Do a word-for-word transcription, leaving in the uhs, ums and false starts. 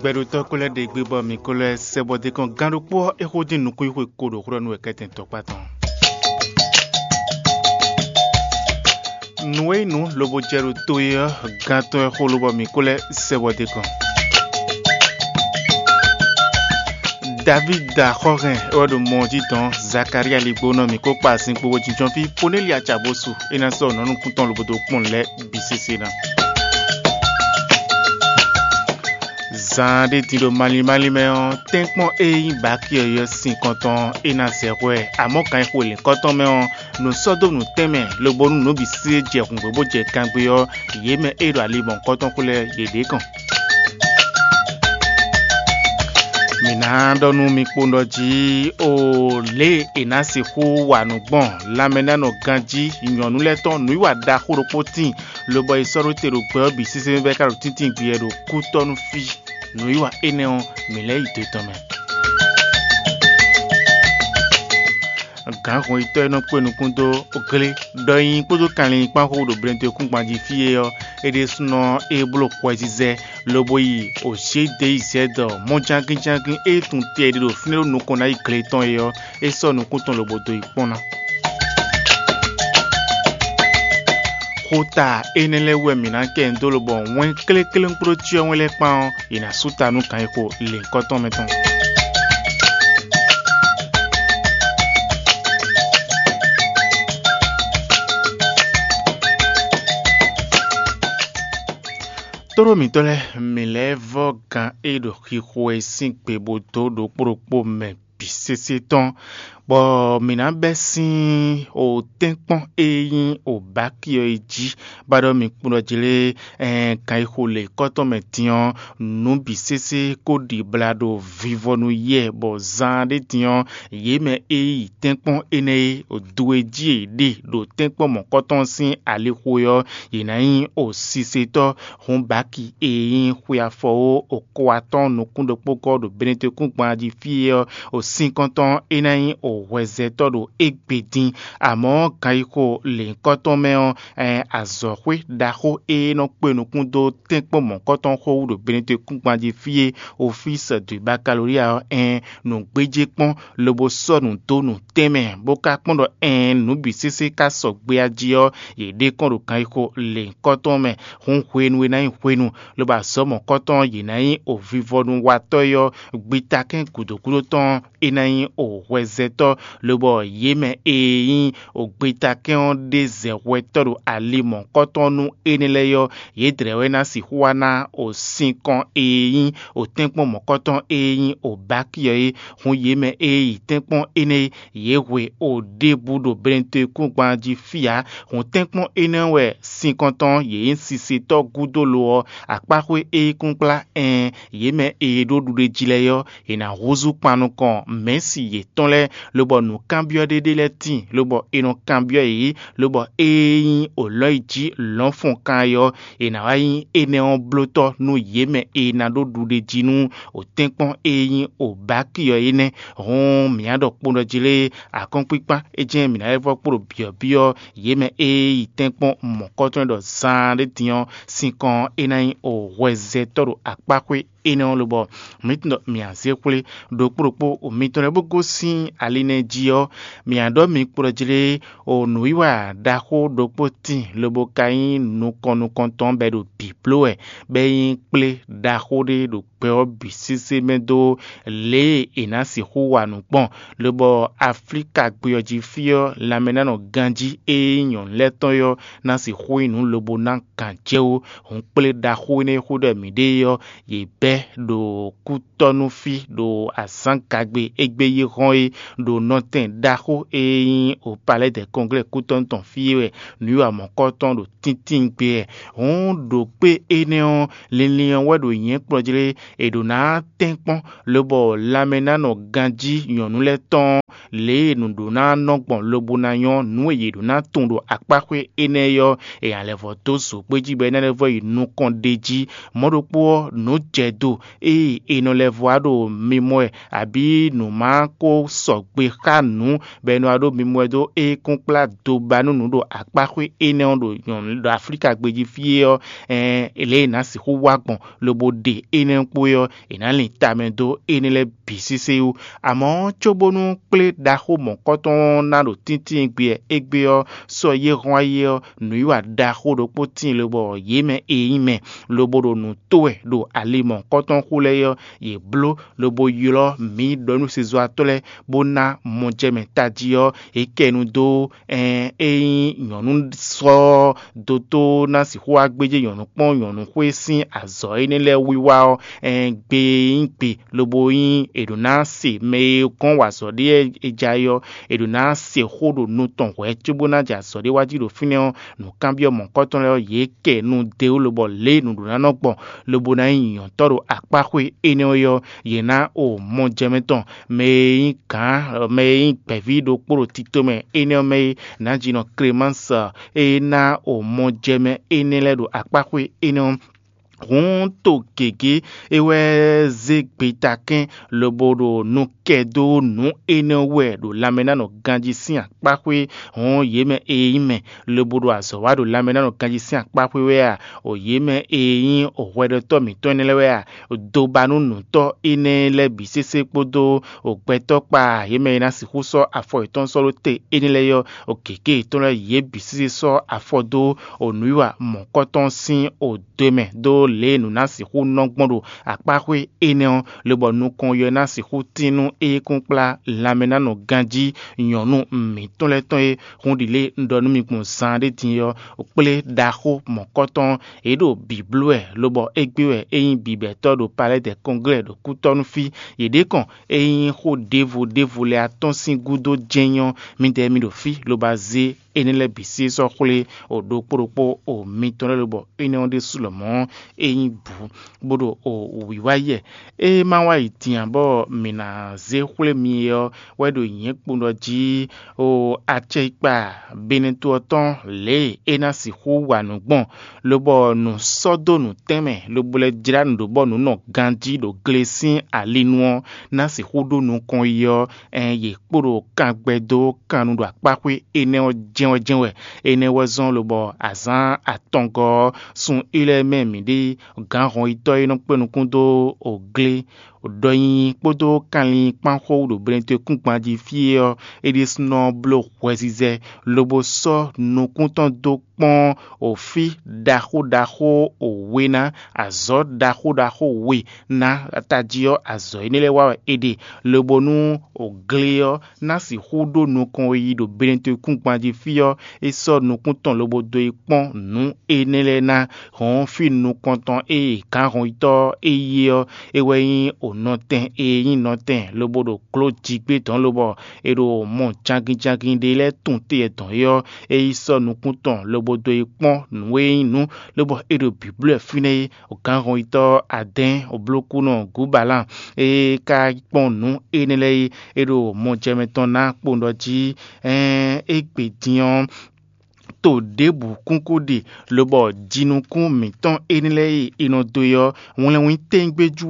Gbɛɖotɔ́ ko lɛ́ɛ ɖe gbé bɔ mǐ ko lɛ́ sɛ bɔ d'é kɔn gán ɖokpó ɔ́, é xo dín nukúnxwe ko ɖo xwlɔ́ nú wɛ kɛ́tɛn tɔkpá tɔn. Nǔ e nyí nǔ lobo jɛ ɖo to e ɔ́, gán tɔn e xo lobɔ mǐ ko lɛ́ sɛ bɔ d'é kɔn. Davída xɔ́hɛn é wɛ ɖo mɔ ɔ́ jí dɔn, Zakalía ligbónɔ mǐ ko kpa azinkpo bó jínjɔ́n fí Konélya ca bó su, é ná sɔ́ nǔ nukún tɔn lobo dó kpɔ́n lɛ́ɛ bǐ sésé ná. Zan ɖé din ɖo malín málín mɛ ɔ́, tɛ́nkpɔ́n e nyí Baki ɔ́ ylɔ́ sin kɔn tɔn é ná zɛ hwɛ, amɔ̌ kan e xo lǐnkɔ́ tɔn mɛ ɔ́, nǔ sɔ́ dó nǔ tɛnmɛ, lobo nú nǔ bǐ se jɛ hǔngbé bó jɛ kangbé ɔ́, yě mɛ e ɖo ali mɔ̌hunkɔtɔn xo lɛ́ɛ yě ɖě kɔn. Mǐ ná ɖɔ nú mi kpowun ɖɔ jí, o lě e è nǎ sixú wa nǔ gbɔn lanmɛnánɔ ganjí nyɔ̌nu lɛ́ɛ tɔn nǔwiwa ɖaxó ɖokpó tíin, lobɔ è sɔ́ ɖó te ɖo gbɛ ɔ́ bǐ sésé mɛ bɔ é ka ɖo tíntín gbeyɛ ɖo kútɔ́ nú fí. Nǔwiwa énɛ́ ɔ́, mǐ lɛ́ yi do tɔn mɛ. Gǎnhɔnyitɔ́ e nɔ kpé nukún dó glé ɖɔ nyi kpódó kanlin kpán xó ɖo Blɛndekúngban jí fí é ɔ́, é ɖésúnɔ é bló xwɛzizɛ, lobo yi Ozhédeyizɛ́dɔ mɔjánginjángin e tun te ɖé ɖo fínɛ́ ɖo nukɔn ná yi gle tɔn é ɔ́, é sɔ́ nukún tɔn lobo dó yi kpɔ́n ná. Xota énɛ́ lɛ́ɛ wú wɛ mǐ ná kɛ nyi dó lobɔ wɛn kléklénkplócyɔ́ wɛn lɛ́ɛ kpán ɔ́, è nǎ sú ta nú kan e xo lěhunkɔtɔn mɛ tɔn. Tóɖó mǐtɔn lɛ́ɛ, mǐ lɛ́ vɔ́ gán e ɖo xixo e sín gbe bó dó ɖokpó ɖokpó mɛ bǐ sésé tɔn, bɔ mǐ ná bɛ́ sín o tɛ́nkpɔ́n e nyí o bǎki ɔ́ yi jí, bá ɖɔ mi kpɔ́n ɖɔ jlé kan e xo lě kɔ́tɔn mɛ din ɔ́, nǔ bǐ sésé ko ɖibla ɖo vivɔ nú yɛ, bɔ zaan ɖé din ɔ́, yě mɛ e yi tɛ́nkpɔ́n énɛ́ e do e jí è ɖe ɖo tɛ́nkpɔ́n mɔ̌kɔtɔn sín alixo é ɔ́, yě ná nyí o sisetɔ́. Hǔn bǎki e nyí xwe afɔ ó, o ko atɔ́ɔ́n nukún ɖokpó gɔ́ ɖo Benetekúngban jí fí é ɔ́, o sínkɔ́ntɔn é ná nyí o hwɛzɛtɔ́ ɖo égbé dín. Amɔ̌, ganyixo lěhunkɔtɔn mɛ ɔ́, ɛn azɔ̌xwé ɖaxó e nɔ kpe nukún dó tɛ́nkpɔ́n mɔ̌kɔtɔn xó wú ɖo Benetekúngban jí fí é, Ofísi dwǐ Bakalolíya ɔ́, ɛn nǔgbéjé kpɔ́n, lobo sɔ́ nǔ dó nǔ tɛnmɛ, bó ka kpɔ́n ɖɔ ɛn nǔ bǐ sésé ka sɔgbe a jí ɔ́, yě ɖe kɔn ɖo ganyixo lěhunkɔtɔn mɛ. Hǔn hwenu e ná nyí hwenu, lobo azɔ̌ mɔ̌kɔtɔn yě ná nyí ovivɔnúwatɔ́ é ɔ́, gbitakɛ́n gǔdo gúdo tɔn é ná nyí o hwɛzɛtɔ́, lobɔ yě mɛ e nyí o gbitakɛ́n ɔ́ ɖe zɛ hwɛtɔ́ ɖo ali mɔ̌kɔtɔn nú énɛ́ lɛ́ɛ ɔ́, yědɛɛ wɛ ná sixú wá ná o sinkɔn e nyí o tɛ́nkpɔ́n mɔ̌kɔtɔn e nyí o bǎki ɔ́ é. Hǔn yě mɛ e yi tɛ́nkpɔ́n énɛ́ é, yě hwe o ɖěbǔ ɖo Benetekúngban jí fí ǎ. Hǔn tɛ́nkpɔ́n énɛ́ wɛ sinkɔntɔn yě nyí sisetɔ́ gúdo lo ɔ́, akpáxwé e yí kúnkplá ɛn yě mɛ e ɖó ɖuɖéjí lɛ́ɛ ɔ́, è nǎ húzú kpan nukɔn mɛ̌si yětɔn lɛ́ɛ, lobɔ nǔkanbyɔ́ ɖé ɖé lɛ́ɛ tíin, lobɔ è nɔ kanbyɔ́ yě, lobɔ ée nyí olɔ̌ yi jí lɔ̌nfɔnkan é ɔ́, è nǎ wá nyí énɛ́ ɔ́ blótɔ́ nú yě mɛ e ná ɖó ɖuɖéjí nú o tɛ́nkpɔ́n e nyí o bǎki ɔ́ é nɛ́. Hǔn mǐ á ɖɔ kpo ɖɔ jí lé, akɔ́nkpíkpá é jɛ́n mǐ ná lɛ́ vɔ́ kpo ɖo byɔ̌byɔ́ yě mɛ e yi tɛ́nkpɔ́n mɔ̌kɔtɔn ɖɔ zaan ɖé din ɔ́, sinkɔn é ná nyí o hwɛzɛtɔ́ ɖo akpáxwé énɛ́ ɔ́ lobɔ mǐ tunwun ɖɔ mǐ a zé xwlé ɖokpó ɖokpó mitɔn lɛ́ɛ bó gosín ali nɛ́ jí ɔ́, mǐ a ɖɔ mi kplɔ́ jí lé o nǔwiwa ɖaxó ɖokpó tíin lobo ka nyí nukɔn nukɔntɔn bɔ é ɖo bǐ bló wɛ, bɔ é nyí kplé ɖaxó ɖé ɖo gbɛ ɔ́ bǐ sésé mɛ dó lě e è nǎ sixú wa nǔ gbɔn, lobɔ Aflíka gbé ɔ́ jí fí ɔ́ lanmɛnánɔ ganjí e nyí nyɔ̌nu lɛ́ɛ tɔn é ɔ́ ná sixú nyí nǔ lobo ná gǎn jɛ wú. Hǔn kplé ɖaxó énɛ́ e xó ɖɔ mǐ ɖe é ɔ́, yě bɛ́ ɖo kútɔ́ nú fí ɖo azǎngagbe égbé yi hɔn é, ɖo nɔtɛn ɖaxó e nyí o Palais des Congrès kútɔ́ tɔn fí é wɛ nǔwiwa mɔ̌kɔtɔn ɖo tíntín gbe wɛ. Hǔn ɖo kpé énɛ́ ɔ́, linlin ɔ́ wɛ ɖo nyɛ̌ kplɔ́ jlé è ɖǒ ná tɛ́nkpɔ́n, lobɔ lanmɛnánɔ ganjí nyɔ̌nu lɛ́ɛ tɔn lě e nǔ ɖó ná nɔ gbɔn lobo ná nyɔ́ nǔ e yě ɖó ná tunwun ɖo akpáxwé énɛ́ ɔ́, è nǎ lɛ́ vɔ dó zǒgbéjí bɔ é ná lɛ́ vɔ yi nukɔn ɖ'é jí. Mɔ̌ ɖokpó ɔ́, nǔ jɛ do ée è nɔ lɛ́ vɔ wá ɖo mimɔ wɛ, abǐ nǔ ma ko sɔgbe xá nǔ bɔ è nɔ wá ɖo mimɔ wɛ dó é kún kplá do ba nú nǔ ɖo akpáxwé énɛ́ ɔ́ ɖo nyɔ̌nu ɖo Aflíka gbéjí fí é ɔ́, ɛɛn lě e è nǎ sixú wá gbɔn lobo ɖe énɛ́ kpó é ɔ́, è nǎ lin tamɛ dó énɛ́ lɛ́ɛ bǐ sésé wú. Amɔ̌, cóbónú kplé ɖaxó mɔ̌kɔtɔn ɔ́ ná ɖo tíntín gbé égbé ɔ́, sɔ́ yé hɔn ayé ɔ́, nǔwiwa ɖaxó ɖokpó tíin lobɔ yě mɛ e nyí mɛ, lobo ɖo nǔ tó wɛ ɖo ali mɔ̌kɔtɔn xú lɛ́ɛ ɔ́, yě bló lobo ylɔ́ mǐ ɖɔ̌núsezɔ́watɔ́ lɛ́ɛ bó ná mɔjɛmɛ tají ɔ́, yě kɛ nu dó ɛn e nyí nyɔ̌nu sɔ ɔ́ dótó ná sixú wá gbéjé nyɔ̌nu kpɔ́n nyɔ̌nu xwé sín azɔ̌ énɛ́ lɛ́ɛ wiwa ɔ́, ɛn gbe e nyí gbe lobo nyí è ɖǒ ná se mɛ e gɔ́n wa azɔ̌ ɖé e ja é ɔ́, è ɖǒ ná se xó ɖo nu tɔn hwɛ̌ cóbó ná jɛ azɔ̌ ɖé wá jí ɖo fínɛ́ ɔ́, nǔkanbyɔ́ mɔ̌hunkɔtɔn lɛ́ɛ ɔ́, yě kɛ nu dó lobɔ lě e nǔɖuɖu ná nɔ gbɔn lobo ná nyí nyɔ̌tɔ́ ɖo akpáxwé énɛ́ ɔ́, yě ná o mɔjɛmɛ tɔn mɛ e nyí gǎn mɛ e nyí gbɛ̌ví ɖokpó ɖo tito mɛ énɛ́ ɔ́ mɛ é, nǎjínɔ Klemánsɔ e ná o mɔjɛmɛ énɛ́ lɛ́ɛ ɖo akpáxwé énɛ́ ɔ́. Hǔn to gěgé é wɛ zé gbetakɛ́n lobo ɖo nu kɛ dó nǔ énɛ́ wɛ ɖo lanmɛnánɔ ganjí sín akpáxwé. Hǔn yě mɛ e nyí mɛ lobo ɖo azɔ̌ wa ɖo lanmɛnánɔ ganjí sín akpáxwé wɛ a? O yě mɛ e nyí hwɛɖɔtɔ́ mǐtɔn énɛ́ lɛ́ɛ wɛ a? Dobanúnǔtɔ́ énɛ́ lɛ́ɛ bǐ sésé kpódó gbɛtɔ́ kpa yě mɛ e ná sixú sɔ́ afɔ yětɔn sɔ́ ɖó te énɛ́ lɛ́ɛ ɔ́, gěgé yětɔn lɛ́ɛ yě bǐ sésé sɔ́ afɔ dó nǔwiwa mɔ̌kɔtɔn sín do e mɛ dó lě e nǔ ná sixú nɔ gbɔn ɖo akpáxwé énɛ́ ɔ́, lobɔ nukɔn yɔ ná sixú tín nú é kún kplá lanmɛnánɔ ganjí nyɔ̌nu mǐtɔn lɛ́ɛ tɔn e hun ɖi lě un ɖɔ nú mi gbɔn zan ɖé din ɔ́, kplé ɖaxó mɔ̌kɔtɔn. Yě ɖo bǐ bló wɛ, lobɔ égbé wɛ é nyí bǐbɛ́tɔ́ ɖo Palais des Congrès ɖo kútɔ́nú fí. Yě ɖě kɔn é nyí xó ɖěvo ɖěvo lɛ́ɛ atɔ́n sín gúdo jɛ́n nyɔ́. Midɛɛ mi ɖo fí lobo zé énɛ́ lɛ́ɛ bǐ sí sɔ́ xwlé ɖokpó ɖokpó o mitɔn lɛ́ɛ lobɔ énɛ́ ɔ́ ɖésú lɔmɔ̌ é nyí bǔ bó ɖo o wǐwá yɛ. É ma wá yi din ǎ bɔ mǐ ná zé xwlé mi é ɔ́ wɛ ɖo nyǐ kpowun ɖɔ jí o acɛkpa Benɛto ɔ́ tɔn lě e é ná sixú wa nǔ gbɔn, lobɔ nǔ sɔ́ dó nǔtɛ́nmɛ lobo lɛ́ jlá nǔ ɖó bɔ nǔ nɔ ganjí ɖo gle sín ali nu ɔ́ ná sixú ɖó nukɔn yi ɔ́, ɛn yě kpo ɖo kan gbɛ dó kan nu ɖo akpáxwé énɛ́ ɔ́ jɛ́n wɛ jɛ́n wɛ. Énɛ́ wɛ zɔ́n lobɔ azǎn atɔngɔ́ ɔ́, sun Ilɛ́ɛ mɛ mǐ ɖe gǎn hɔnyitɔ́ e nɔ kpé nukún dó oglé ɖɔ nyinyi kpódó kanlin kpán xó ɖo Benɛto kúngban jí fí é ɔ́, é ɖésúnɔ bló hwɛzizɛ, lobo sɔ́ nukún tɔn dó kpɔ́n òfí ɖaxó ɖaxó we ná, azɔ̌ ɖaxó ɖaxó we ná tají ɔ́, azɔ̌ énɛ́ lɛ́ɛ wa wɛ è ɖe, lobo nú glé ɔ́ ná sixú ɖó nukɔn e yi ɖo Benɛto kúngban jí fí ɔ́, é sɔ́ nukún tɔn lobo dó yi kpɔ́n nǔ énɛ́ lɛ́ɛ ná. Hɔ̌n fí nukɔntɔn e gǎn hɔnyitɔ́ e yi ɔ́, é wɛ nyí nɔtɛn e nyí nɔtɛn lobo ɖo glǒ jigbé dɔ̌n lobɔ è ɖo mɔ jangin jangin ɖé lɛ́ɛ tunwun te yɛ dɔn é ɔ́, é yi sɔ́ nukún tɔn lobo dó yi kpɔ́n nǔ e nyí nǔ, lobɔ é ɖo bǐblɔ́ ɛ fínɛ́ é. Gǎn hɔnyitɔ́ adɛ́ɛn oblókúnɔ Gǔbalán e ka kpɔ́n nǔ énɛ́ lɛ́ɛ é, é ɖo mɔ jɛ mɛ tɔn ná kpowun ɖɔ jí, ɛɛn égbé din ɔ́, to ɖěbǔ kúnkún ɖe, lobɔ jinukún mǐtɔn énɛ́ lɛ́ɛ e è nɔ dó é ɔ́, wlɛnwín tɛ́ngbéjú